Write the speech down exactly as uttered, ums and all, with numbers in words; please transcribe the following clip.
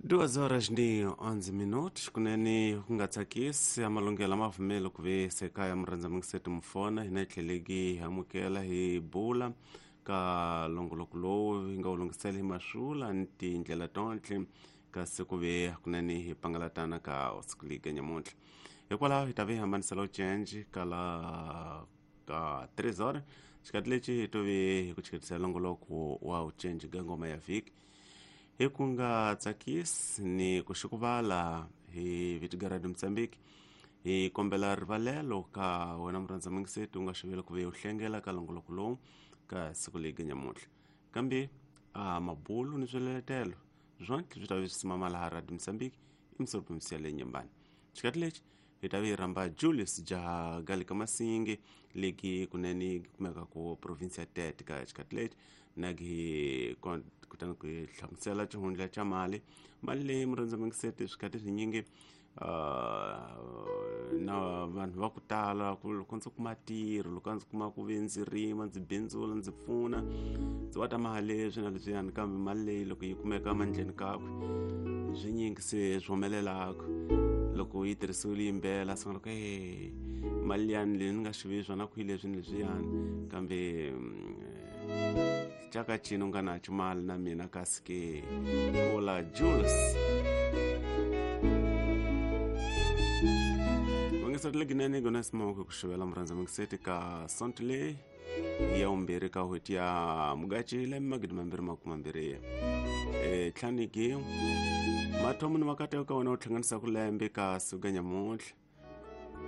Duas horas ni onze minutos kunene ku nga tsakisi amalungelo mavumelo ku ve sekaya murhandza mingiseti mufona hina hi tlheleki hi amukela hi bula ka longoloko lowu hi nga wu lunghisela hi masula ni tindlela tontle kasi ku ve kunene hi pangalatana ka siku liga nyamuntlha hikwalaho hi ta ve hi hambanisela ucenji ka la ka tres horas xikati lexi hi to ve hi ku chiketisela longoloko wa ucenji ka ngoma ya vhiki hi ku nga tsakisi ni ku xikuvala hi vito ga Radio Mozambique hi kombela rivalelo ka wena murhandza mingiseti u nga xivela ku ve u hlengela ka longoloko lowu ka siku leyi nyamuntlha kambe a mabulu ni swiletelo swonke swi ta ve swi simama laha Radio Mozambique i msopimsiya leyi nyembani xikati lexi hi ta ve hi rhamba Julius Jaha ka Masingi leki kunene yi kumeka ku province ya Tete ka xikati lexi na hi kutani ku hi hlamusela xihundla xa mali mali leyi murhandza mingiseti swikati swinyingi uh, na vanhu va ku tala ku loko ndzi kuma ntirho loko ndzi kuma ku ve ndzi rima ndzi bindzula ndzi pfuna ndzi wata mali leswi na leswiyani kambe mali leyi loko yi kumeka mandleni kakwe swinyingi se swi humelelaka loko yi tirhisiwile yimbela swi nga loko e mali liyani leyi ni nga xivi swona ku yi leswi ni leswiyani kambe caka cino nga nacho mali na mina kasi ke vula Jules vangisati leginene gona simoko ku xivela murhandza mingiseti ka sonto leyi ya vumbirhi ka n'hweti ya Mugachi lembe magidi mambirhi makume mambirhi e tlhaniki mathomo ni makateko ka wena u hlanganisa ku lembe ka siku nyamuntlha.